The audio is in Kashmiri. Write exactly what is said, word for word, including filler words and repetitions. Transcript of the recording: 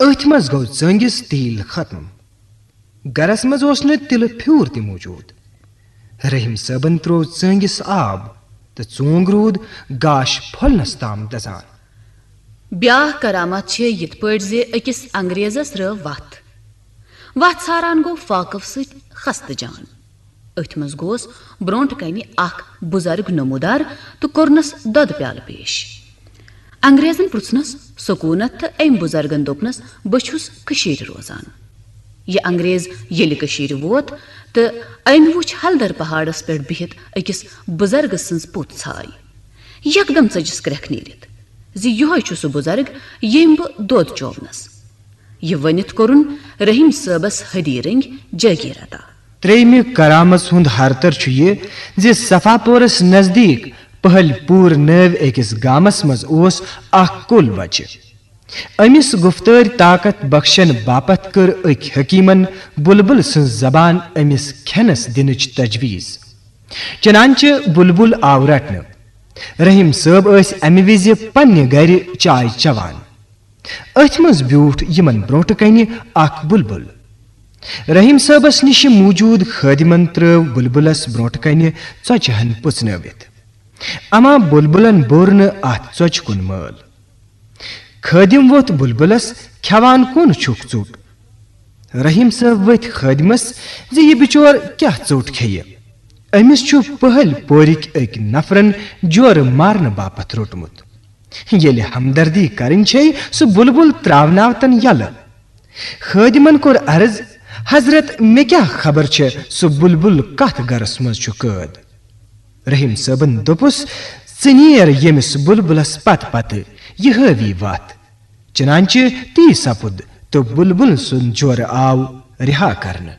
أتھۍ منٛز گوٚو ژٲنٛگِس تیٖل ختم۔ گرس منٛز اوس نہٕ تِلہٕ پھیوٗر تہِ موٗجوٗد۔ رحیم صٲبن تروو ژٲنٛگِس آب تہٕ ژونٛگ روٗد گاش پھۄلنس تام دزان۔ بیاکھ کرامت چھِ یِتھ پٲٹھۍ زِ أکِس انگریزس رٲو وتھ۔ وتھ ژھاران گوٚو فاقف سۭتۍ خستہٕ جان۔ أتھۍ منٛز گوس برونٛٹھ کنہِ اکھ بُزرگ نمودار تہٕ کوٚرنس دۄدٕ پیالہٕ پیش۔ انگریزن پرژھنس سکوٗنت تہٕ أمۍ بُزرگن دوٚپنس، "بہٕ چھُس کٔشیٖرِ روزان۔" یہِ انگریز ییٚلہِ کٔشیٖرِ ووت تہٕ أمۍ وُچھ ہلدر پہاڑس پٮ۪ٹھ بِہِتھ أکِس بُزرگہٕ سٕنٛز پوٚت ژھاے۔ یکدم ژٔجِس کرٛٮ۪کھ نیٖرِتھ زِ یِہوے چھُ سُہ بُزرگ، ییٚمۍ بہٕ دۄد چوونس۔ یہِ ؤنِتھ کوٚرُن رحیم صٲبس حدی رٔنگۍ جٲگیٖر عطا۔ ترٛیٚیمہِ کرامس ہُنٛد ہرتر چھُ یہِ زِ صفا پورس نزدیٖک پہلۍ پوٗر نٲوۍ أکِس گامس منٛز اوس اکھ کُل بچہِ۔ أمِس گُفتٲرۍ طاقت بخشن باپتھ کٔر أکۍ حکیمن بلبل سٕنٛز زبان أمِس کھٮ۪نس دِنٕچ تجویز۔ چنانچہ بلبل آو رٹنہٕ۔ رحیم صٲب ٲسۍ امہِ وِزِ پننہِ گرِ چاے چوان۔ أتھۍ منٛز بیوٗٹھ یِمن برونٛٹھٕ کنہِ اکھ بلبل۔ رحیم صٲبس نِش موٗجوٗد خٲدِمن ترٲو بلبلس برونٛٹھٕ کنہِ ژۄچہِ ہن پُژنٲوِتھ۔ اما بلبلن بوٚر نہٕ اتھ ژۄچہِ کُن مٲل۔ خٲدِم ووٚتھ بلبلس، "کھٮ۪وان کون چھُکھ ژوٚٹ؟" رحیم صٲب ؤتھۍ خٲدِمس زِ یہِ بِچور کیٛاہ ژوٚٹ کھیٚیہِ؟ أمِس چھُ پہلۍ پورِکۍ أکۍ نفرن جورٕ مارنہٕ باپتھ روٚٹمُت۔ ییٚلہِ ہمدردی کرٕنۍ چھے، سُہ بلبل تراوناو تن یلہٕ۔ خٲدِمن کوٚر عرض، "حضرت، مےٚ کیٛاہ خبر چھےٚ سُہ بلبل کتھ گرس منٛز چھُ قٲد؟" رحیم صٲبن دوٚپُس، "ژٕ نیر ییٚمِس بلبلس پتہٕ پتہٕ، یہِ ہٲوی وتھ۔" چنانچہ تی سپُد تہٕ بلبل سُنٛد جورٕ آو رِہا کرنہٕ۔